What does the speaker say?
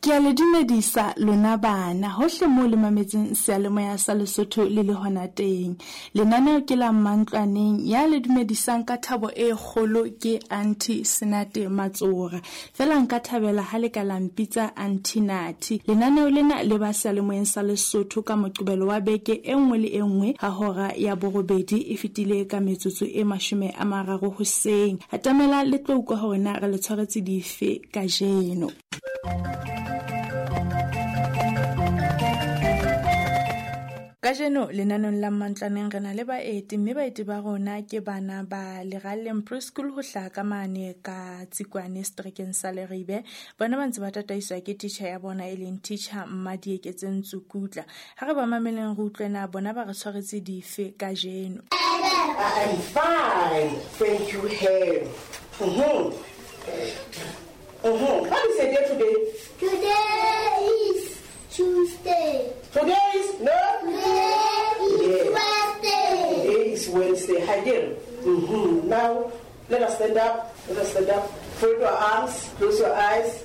Ke a le dumedisa lona bana hohle moo le mametseng seyalemoya sa Lesotho le le hona teng. Lenaneo ke la Mmantlwaneng ya le dumedisang ka thabo e kgolo ke Auntie Senate Matsora. Fela nka thabela ha le ka la mpitsa Auntie Nathi. Lenaneo lena le ba seyalemoyeng sa Lesotho ka Moqebelo wa beke e nngwe le e nngwe ha hora ya borobedi e fetile ka metsotso e 30 hoseng. Atamela le tlo utlwa hore na re le tshwaretse dife kajeno. Kajeno lenaneng la Mmantlwaneng re na le baeti mme baeti ba rona ke bana ba Leralleng Preschool ho hlaha ka mane ka Tsikwane seterekeng sa Leribe. Bona ba ntse ba tataiswa ke teacher ya bona e leng teacher Mmadieketseng Tsukutla. Ha re ba mameleng re utlwe na bona ba re tshwaretse dife kajeno. I'm fine. Thank you, Harry. What is the day today? Today is Tuesday. Today is no. Today is Wednesday. Today is Wednesday. Hadir. Now let us stand up. Let us stand up. Fold your arms. Close your eyes.